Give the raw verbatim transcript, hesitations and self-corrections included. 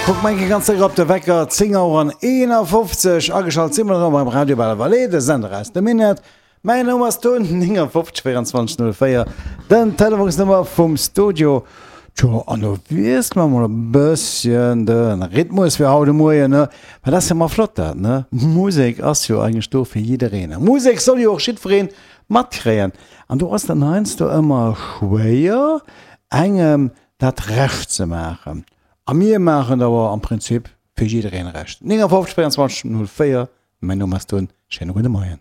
Kuck mol eng Kéier ganz séier op de Wecker, zéng Auer an eenafofzeg. Ageschalt si mer erëm beim Radio Belle Vallée, de Sender aus dem Minett. Mäin Numm ass Tun, néngafofzeg véierundzwanzeg null véier, den Telefonsnummer vum Studio. Tjo, an do wiessele mer mol e bësschen de Rhythmus fir haut de Moien, ne? Well dat ass jo mol flott dat, ne? Musek ass jo eigentlech do fir jiddereen. A Musek soll jo och jiddweree matkréien. An do ass dann heiansdo ëmmer schwéier, engem dat Recht ze maachen. A mir maachen et awer am Prinzip fir jiddereen Recht. néngafofzeg véierundzwanzeg null véier, mäin Numm ass Tun, schéine gudde Moien.